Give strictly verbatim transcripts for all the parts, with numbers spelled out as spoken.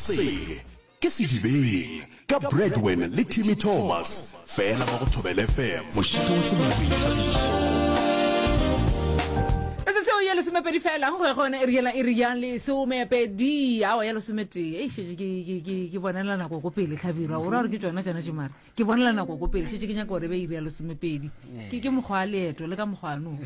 Se ke Sedibeng ka Bradwin le Timmy Thomas, fela mo go Thobela F M, mošito wa tsebo le boithabišo. Metsotso ye lesomepedi fela go ya gona iri yela iri ya lesomepedi, awa, ya lesometee. Ei, šetše ke ke ke ke bonela nako ko pele. Hlabirwa, o ra gore ke tšona tšona tše, mara ke bonela nako ko pele, šetše ke nyaka gore be iri ya lesomepedi. Ke ke mokgwa wa leeto le ka mokgwa no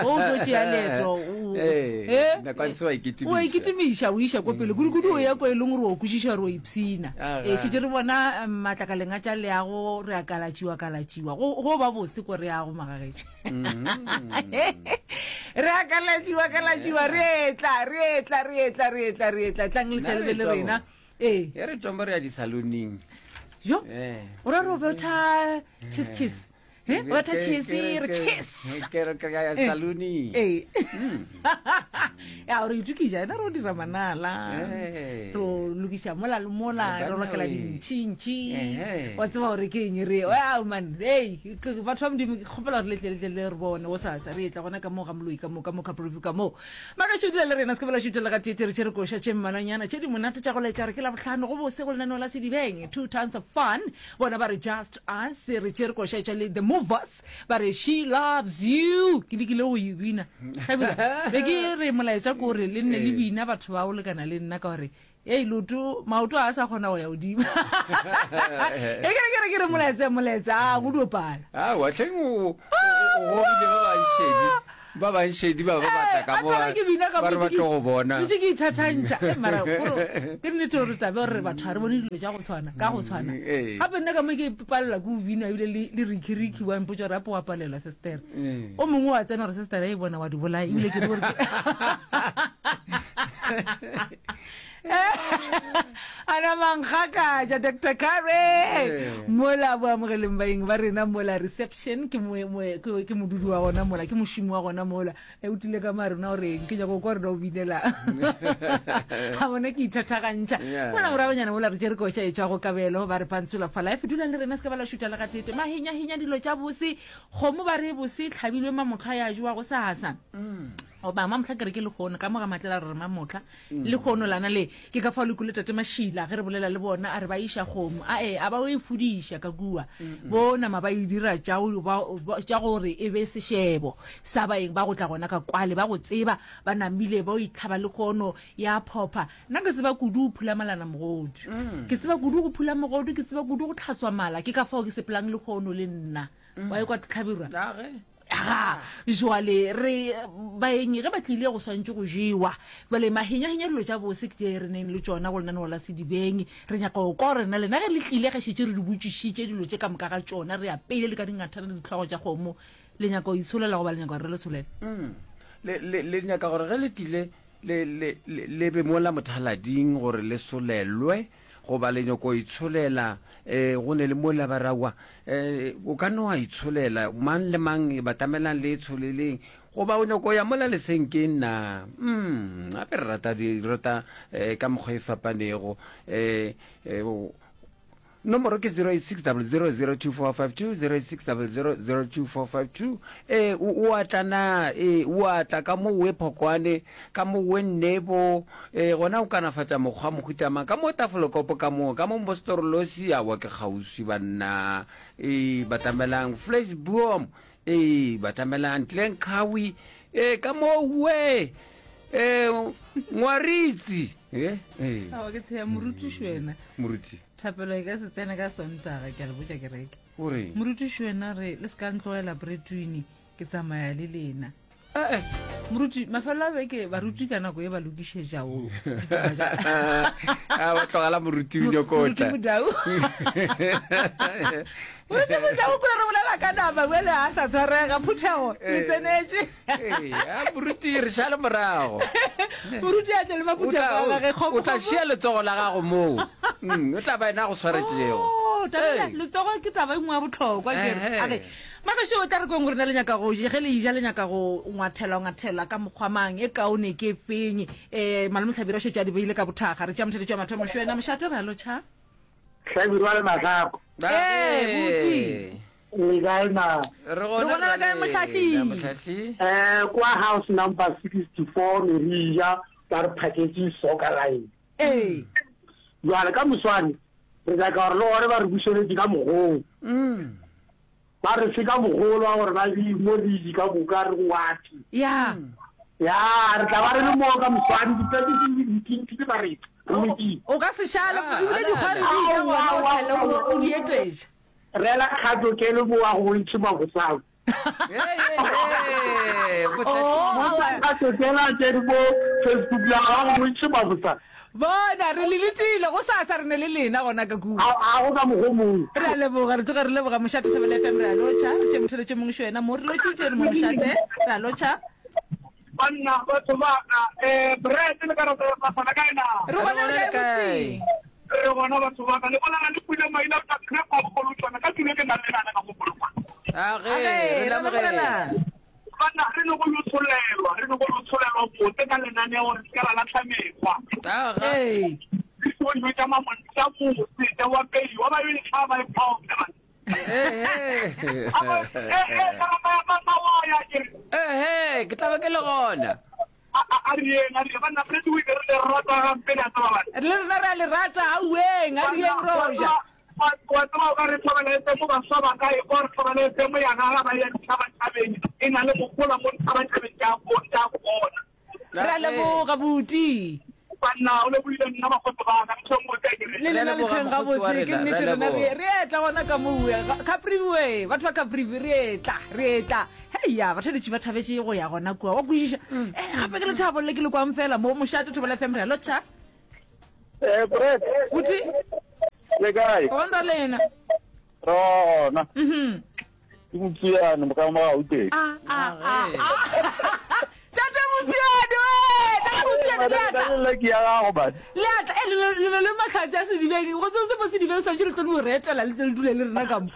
o tlo tšea leeto o- Eh, eh, nako a ntse wa ikitimiša. O ikitimiša, o iša ko pele kudu-kudu, o ya ko e leng gore o kwešiša gore o ipshina. Aga. E šetše re bona eh, matlakaleng a tša leago, re a kalatšiwa kalatšiwa go go ba bose ko re yago magagetše, re a kalatšiwa kalatšiwa, re etla, re etla, re etla, re etla, re etla, tlang le tle le be le Nna re rena. Ee. E re tswang, re ya di-saloning. Jo. Eh. O ra re o betha cheese, cheese, e o betha cheese, re cheese. Ke re ke ya saloning. Ee, ya gore itokiša ena, re o dira manala, Eh. re o lokiša mola le mola, Eh, re lokela banna we. dintšhintšhi. Ehe. Wa tseba gore ke eng re ao man. Ei, ke- batho ba Modimo, ke kgopela gore letle letle le re bone go sasa, re etla gona ka moo ga moloi, ka moo ka moo Caprivi, ka moo magašo. Dula le rena, se ke bela šutela ga tete, re tšere koša tše mmalwanyana tše di monate tša go laetša re ke Labohlano go bose go lenaneo la Sedibeng, two tons of fun. Bona ba re Just Us. Re tšere koša tša le The Movers, ba re She Loves You. Ke lekile go e bina. Hlabirwa, be ke re molaetša ko gore le nne le bina batho ba o lekana le nna, ka gore ei, loto maoto a sa kgona go ya godimo. E ke re ke re ke re molaetsa, molaetsa a go dio pala. Aowa tlheng, o o- o gogile ba banšedi, ba banšedi ba ba batla ka mo, ba ke bina ka ba re ba tlo go bona. Ntse ke ithathantšha. Eh, mara kore ke nnete gore tabe gore batho ga re bone dilo tša go tshwana ka go tshwana. Mm, ee. Gape nna ka mo ke palela ke o bina, ebile le le rikiriki wa mpotsa gore ape wa palelwa, sister. Mm. O mongwe wa tsena gore sister e bona wa di bolaya, ebile ke re gore ke- ana mankgakatša Doctor Kare. Eh. Mola bo amogeleng baeng ba rena mola reception, ke moe- moe- ke ke modudi wa gona mola, ke mošomi wa gona mola. E o tlile ka marena gore ke nyaka go kwa rena o binela ga bona, ke ithathagantšha. Yeah. Mola moragonyana mola re tšere koša e tšwa go Kabelo, ba re Pantsula for Life. Dulang le rena, se ka ba la šuta le gatete. Mahenyahenya dilo tša bose, kgomo ba re bose tlhabilwe mamotlha ya jewa go sasa goba mamotlha, ke re ke lekgono ka mo ga matlela, re re mamotlha lekgono lana le ke ka fao le kule. Tate Mašila ge re bolela le bona a re ba iša kgomo ae, a ba o e fodiša ka kua, bo nama ba e dira tša go- ba- ba- tša gore e be sešebo sa baeng ba go tla gona ka kwale, ba go tseba ba namile ba o itlhaba lekgono ya phopha. Nna ke tseba kudu go phula malana mogodu, ke tseba kudu go phula mogodu, ke tseba kudu go tlhatswa mala, ke ka fao ke sepelang lekgono le nna wa e kwa Tlhabirwa. Age. Aga jwale re baeng ge ba tlile go swantse go jewa. Jwale mahenyahenya dilo tša bose ke tše re neng le tšona go lenaneo la Sedibeng. Re nyaka go kwa rena lena ge le tlile, ge šetse re di botšišitše dilo tše ka moka ga tšona, re apeile le ka dingathana le ditlhogo tša kgomo, le nyaka go itsholela goba le nyaka gore re le tsholele? Mm. le le le nyaka gore ge le tlile le le le le be mola mothalading gore le solelwe, goba le nyako itsholela? um go ne le mola ba rawa, um o ka no wa itsholela, mang le mang batamelang le itsholeleng, goba o nyako ya mola lesenkeng na? mm gape re rata di rata um ka mokgwa e fapanego. um nomoro ke zero eight six zero zero zero two four five two, zero eight six zero zero zero two four five two. Ee, o o atla na? Ee, o atla ka mo we Phokwane, ka mo we Nnebo, ee, gona o kanafatša mokgwa mohutamang ka mo Tafolekopo, ka mo ka mo Mostorolosi, awa ke kgauswi banna. Ee, batamelang Flesboom, ee, batamelang Tlenkgawi, ee, ka mo we ee Ngwaritsi, ee, ee. Awa, ke tsheya morutiši wena. Moruti. Thapelo e ka se tsene ka Sontaga, ke a le botša kereke. O reng? Morutiši wena re le se ka ntlogela bretwini, ke tsamaya le lena. Eh, eh. Moruti, mafelo a beke baruti ka nako e ba lokišetša o ditaba tša- A ba tlogela moruti o nyoko Moruti tla. Modau, moruti Modau ko re bolela ka nama bjale a sa tshwarega phuthego le Eh. tsenetše. Ee, a moruti re šale morago. Moruti a tle le O maphuthego tla- a gage, o tla šia letsogo la gago moo. Mm, o tla ba ena go swaretšego. Oh, taba ela, Ee. letsogo ke taba e nngwe ya botlhokwa kere. Ehe. A re magašo o tla re kweng gore na le nyaka go ge le ja, le nyaka go ngwathelwa ngwathelwa ka mokgwa mang, e kaone ke feng? um malome Tlhabiro šetše a di beile ka bothaga. Re tšea motheletšo wa mathomo. Šwena mošate, re a lotšha. Hlabirwa le Mahlako. Ee, buti. Le kae na? Re Re gona le kae, Mohlahli? Mohlahli. Eh, kwa house number sixty-four Merija ba re phaketše soccer line. Ee. Jwale ka moswane re nyaka gore le gore ba re bušeletše ka mogolo. Ba re fe ka mogolo wa gore ba be mo league ka moka re go ati. Ya. Ya, re tla ba re le moo ka moswane di-practice di dintsi ba re re lokile. O ka se šale Ah, ebile ala, dikgwari ala. di ka Aowa, gona o aowa, tlhele o aowa. o di etetša. Rela kgato ke le mo wa go bontšhe mabosao. Hey, hey, hey, Oh, botlhatsi. aowa. Kgato ke la ke le mo Facebook la ga go bontšhe mabosao. Bona re le letile go sasa re ne le lena gona ka kua. A a go ka mogo mongwe. Re a leboga re tloga re leboga mošate Thobela F M re a lotšha re tše motheletše mongwe šo wena mo re lotšitše re mo mošate re a lotšha. Banna batho ba ka eh bread le ka rata ba sana kae na. Re gona Re le gona kae le kae? botse? Re gona batho ba ka le bona le pule maina ka krepa bogolo tsona ka tule ke nna le nana ka mogolo. A ge, Age, re re lamogetse. lamogela. Banna re ne go yo tsholelwa, re ne go yo tsholelwa bote ka lenaneo re se ka ra latlha mekgwa. A ga. Ee. Di tlo tša mamontša mose tša wa pei wa ba yo tlhaba e phoka. Hey, hey. A eh eh ka ba ba wa ya ke re Eh, hey, ke tla ba ke le gona. a a re yena re banna re di re le rata gampe le tsaba bana. Le rena re a le rata auweng a rieng roja. Wa tseba o ka re Thobela F M baswa ba ka e kwa re Thobela F M ya gaga ba ya ditšhabatšhabeng e na le mogola mo ditšhabatšhabeng tša go tša bona. Re a leboga buti. Banna o lebohile nna bakgotsi ba ka ntho nngwe ka ke re. Le lena le leboga, tlheng mokgotsi wa gabotse ke rena, nnete re rena re leboga. re etla gona ka mowe Caprivi we batho ba Caprivi re etla re etla heya batheletši ba thabetše go ya gona kua wa kwešiša eh gape ke lethabo le ke le kwang fela mo mošate Thobela F M re a lotšha Eh Brad, buti le kae? gona lena Rona. mhm Ke Motsiane mo ka mo Gauteng. a a a a tate Motsiane we tate Motsiane le atla Le ke ya gago bana. le atla eh, le le le le mahlatse a sedibeng go se se mo sedibeng swantse le tlo no re etela le tle le dule le rena ka mo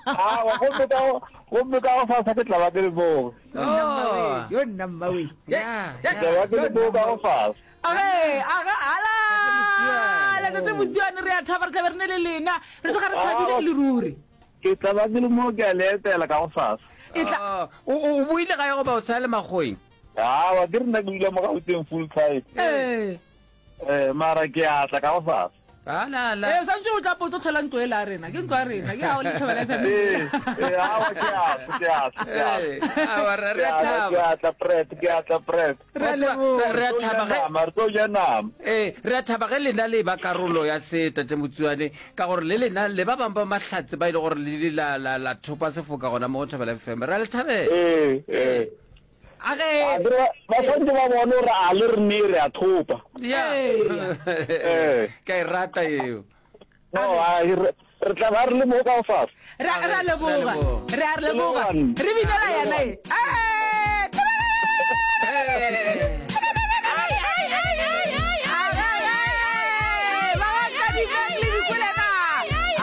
Ah, wa gomme ka go gomme ka go fasa ke tla ba ke le moo. Oh. yo nna mmawe Ya, Ke tla ba ke le moo ka go fasa. age aga ala Motsiane. tate Motsiane re a thaba re tlabe re ne le lena re tloga re thabile e le ruri Ke tla ba ke le moo ke a le etela ka go fasa. e tla Oh, o o- o boile gae goba o sa le makgoweng? Ah, wa ke re nna ke dula mo Gauteng full time. ee Eh, mara ke a tla ka go fasa. Ala, ala. ee santse o tla po tlo tlhola ntlo e la rena ke ntlo ya rena ke ao le Thobela F M Eh, eh, awa ke a tla, ke a tla, ke a tla. Eh, awa, re Ke re a a tla, thaba. ke a tla Brad, ke a tla Brad. re a Wa tseba, leboga re a Re tlo ja thaba ge nama, re tlo ja nama. ee re a thaba ge lena le ba karolo ya se tate Motsiane ka gore le lena le ba bangwe ba mahlatse ba ile gore le ile la la la thopa sefoka gona mo go Thobela F M re a le thabela. Eh, eh. age A ke re ba tshwanetse ba bone gore a le re ne re a thopa. Ya. Eh. Ka e rata eo. No, a re re tla ba re le mo ka go fasa. re a re a leboga Re a leboga. re a leboga re binela yena e a